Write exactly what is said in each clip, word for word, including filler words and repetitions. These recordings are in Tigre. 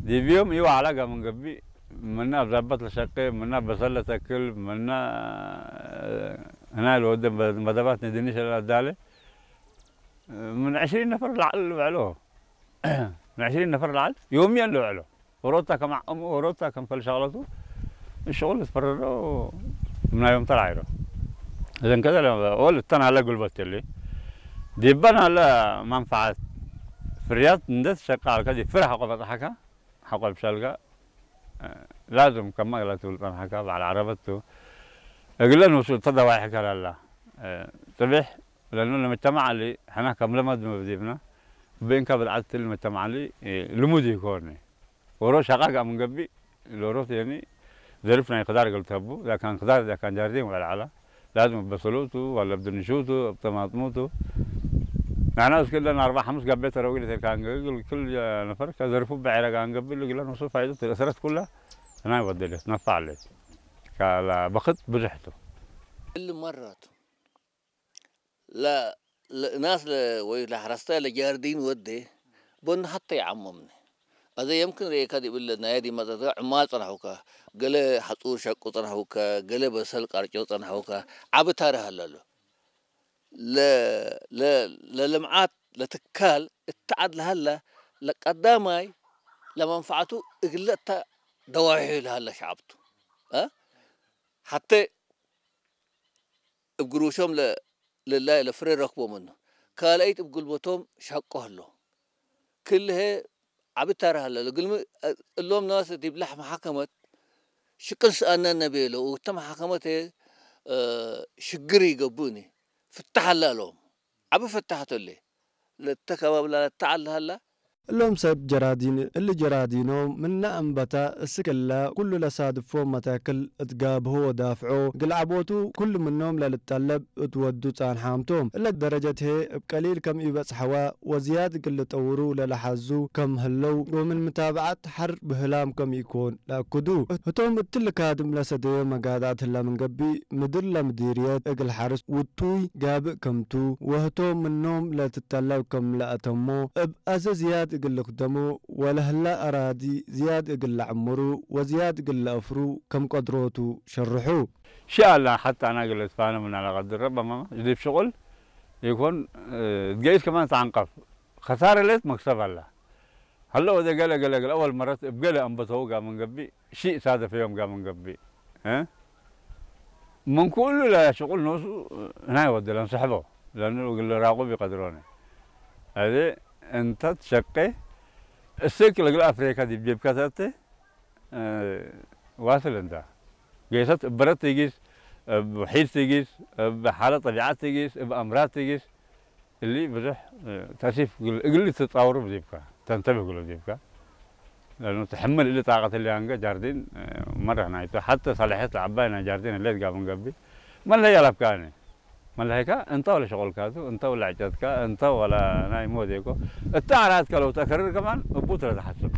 ዲብ ዮም ኢወዐለ ጋም እንገብእ፣ ምነ አብዛበት ለሸቄ፣ ምነ በሰል ለተክል፣ ምነ ህናይ ለወደ መደባት ንድንሽ ለአዳሌ፣ ምን ዕሽሪን ነፈር ለዐል ልውዕሎ። ምን ዕሽሪን ነፈር ለዐል ዮምየን ልውዕሎ። ዎሮታ ከም ዐቅሙ፣ ዎሮታ ከም ፈል ሸቅለቱ፣ እሽቁል ልትፈረዶ ምናዮም ተራዒሮ። እዘን ከዘ ለ-፣ ወል እተን ሀለ ጉልበት እሊ፣ ዲበን ሀለ መንፈዓት ፍርያት እንዴ ትሸቀ ዐልከ፣ ዲብ ፍረ ሐቆ በጽሐከ፣ ሐቆ እብ ሸልከ፣ ላዝም ከመ እግለ ትብል ጸንሐከ፣ በዐል ዐረበት ቱ። እግለ ንሱ እተ ደዋይሕ ከለላ፣ ጽቤሕ ለእኑ ለመጅተማዕ እሊ፣ ሕነ ከም ለመድ ዲብነ፣ እብ እንከ ብድዓት እሊ መጅተማዕ እሊ ልሙድ ኢኮን። ዎሮ ሸቃ ጋር ምንገብእ፣ ሎሮት የኒ ዘርፍ ናይ ክዳር እግል ተቡ፣ እዛ ካን ክዳር፣ እዛ ካን ጃርዲን ወዐለ ዐለ፣ ላዝም እብ በሰሎቱ፣ ወለ እብ ድንሹቱ፣ እብ ጠማጥሙቱ። ንሕነ እስክ እለን አርበዕ ሐምስ ጋቤ ተረዊ ለቴልካ እንገብእ፣ እግል ክል ነፈር ከዘርፉ በዔረ ጋር እንገብእ፣ እግለ ኖሱ ፋይደት ለእሰረት ኩለ ናይ ወደለት ነፋዕ ዐለት። ካላ በክት ብዙሕ ቱ። እሊ መረት ለ-፣ ለ-፣ ናስ ለ-፣ ወይ ለሐረስታይ ለጃርዲን ወዴ፣ ቦን ሐቴ ይዓመምኒ። አዜ የምክን ርኤካ ዲብ እለ ናየ ዲብ መጸትከ ዕማል ጸንሐውከ፣ ገሌ ሐጹር ሸቁ ጸንሐውከ፣ ገሌ በሰል ቀርጮ ጸንሐውከ፣ ዐቢ ታርህ ሀለሉ። ለ-፣ ለ-፣ ለልምዓት ለትካል እተ ዐድ ለሀለ ለቀዳማይ ለመንፈዐቱ እግለ እተ ደዋሂ ለሀለ ሸዐብ ቱ። አ? ሐቴ እብ ግሩሾም ለ-፣ ለላይ ለፍሬ ረክቦ ምኑ። ካልአይት እብ ጉልበቶም ሸቆ ህሎ። ክል ህዬ ዐቢ ታርህ ሀለ። እግልሚ እሎም ናስ ዲብ ለሐ መሐከመት ሽቅል ሰአነነ ቤሎ። ወእተ መሐከመት ህዬ፣ እ፣ ሽግር ኢገብእኒ። ፍታሕ ሀለ እሎም። ዐቢ ፍታሕ ቱ እሊ። ለእተ ከባብ ላለ ተዐል ሀለ። እሎም ሰብ ጀራዲን፣ እሊ ጀራዲኖም ምነ አንበተ እስክ እለ ኩሉ ለሳድፎ መታክል እት ጋብሆ ወዳፍዖ፣ እግል ዐቦቱ ኩሉ ምኖም ለልጠለብ እት ወዱ ጻንሓም ቶም። እለ ደረጀት ህዬ እብ ቀሊል ከም ኢበጽሐወ ወዝያድ እግል ልጠውሩ ለለሐዙ ከም ህለው ወምን ምታብዐት ሐር ብህላም ከም ኢኮን ለአክዱ። ህቶም እትሊ ካድም ለሰደዮ መጋዳት ህለ ምን ገብእ፣ ምድር ለምዲርየት እግል ሐርስ ውጡይ ጋብእ ከምቱ፣ ወህቶም ምኖም ለትጠለብ ከም ለአተሞ፣ እብ አዜ ዝያድ እግል ልክደሞ ወለህለ አራዲ ዝያድ እግል ለዐምሩ ወዝያድ እግል ለአፍሩ ከም ቀድሮቱ ሸርሑ። ሺ አላ ሐታ አና እግል እትፋነ ምና ለቀድር ረበማ ዲብ ሽቁል ኢኮን፣ እት ገይስ ከማን ተዐንቀፍ። ከሳረ ሌት መክሰብ አላ። ሀለ ወደ ገለ ገለ ገለ አወል መረት እብ ገለ አንበተው ጋር ምን ገብእ፣ ሺእ ሳደፈዮም ጋር ምን ገብእ፣ እ? ምን ኩሉ ለሽቁል ኖሱ ህናይ ወደ ለንሰሕቦ፣ ለእኑ እግል ራቁብ ይቀድሮነ። አዜ እንተ ትሸቄ፣ እስክ ለእግል አፍሪካ ዲብ ጄብከ ተአቴ፣ እ፣ ዋስል እንተ። ጌሰት እብ በረድ ትጊስ፣ እብ ሒድ ትጊስ፣ እብ ሓለት ጠቢዐት ትጊስ፣ እብ አምራድ ትጊስ፣ እሊ ብዙሕ፣ እ፣ ተእሲፍ እግል፣ እግል ትጻወሩ ዲብከ፣ ተንተብህ እግሉ ዲብከ። ለአኑ ትሕምል እሊ ጣቀት እሊ አንገ ጃርዲን፣ እ፣ መረህ ናይቱ። ሐተ ሰላሕየት ለዐባይ ናይ ጃርዲን ህሌት ጋር ምን ገብእ። መለሀይ አለብካኒ። መለሀይካ እንተ ወለ ሸቁልካ ቱ፣ እንተ ወለ ዕጨትካ፣ እንተ ወለ ናይ ሞዴኮ። እተ አራትከ ለው ተከርር ከማን እቡ ቱ ለተሐስብ።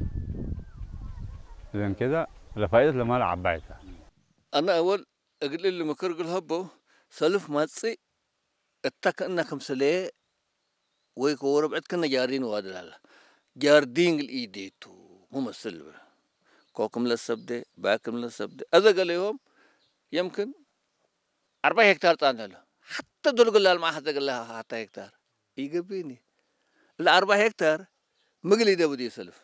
እዘን ከዛ ለፋይደት ለማለ ዐባይ ተ። አነ አወል እግል እሊ ምክር እግል ሀቦ፣ ሰልፍ ማጽእ እተ ክእነ ክምስልዬ ወይ ከወረብዕት ክእነ ጃርዲን ዋድላለ። ጃርዲን እግል ኢዴቱ ሙመስል ልብል። ኮክም ለሰብዴ፣ ባክም ለሰብዴ። አዘ ገሌሆም የምክን አርባዕ ሄክታር ጻንተ ለ። ሐተ ዶል እግል ላልማዕ ሐዘ እግል ሐተ ሄክታር ኢገብእኒ። እለ አርባዕ ሄክታር ምግል ኢደብድ ሰልፍ።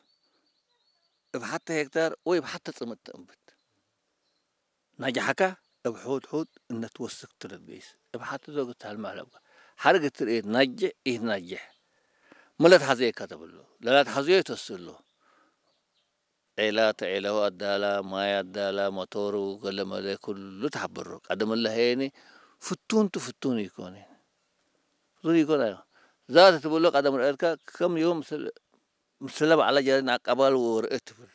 እብ ሐተ ሄክታር ወይ እብ ሐተ ጽምድ ተእንብት። ናጅሐከ እብ ሑድ ሑድ እነ ትወስክ ቱ ለትገይስ። እብ ሐቲ ዞግ እት ሀልመ አለብከ። ሐርግ እት ርኤት ናጅሕ ኢትናጅሕ። ምን ለትሐዘየከ ተብሎ። ለላትሐዘዮ ተስእሎ። ዔላ ተዔለሁ አዳላ፣ ማይ አዳላ፣ መቶሩ ገለመለ ኩሉ ተሐብሮ። ቀደም እለ ሄኒ ፍቱን ቱ ፍቱን ኢኮን። ፍቱን ኢኮን አዮ። ዛት ትብሎ ቀደም ረአትከ ከም ዮም ምስል ምስለ በዐለ ጀሪን አቀባል ወርእ ትብል።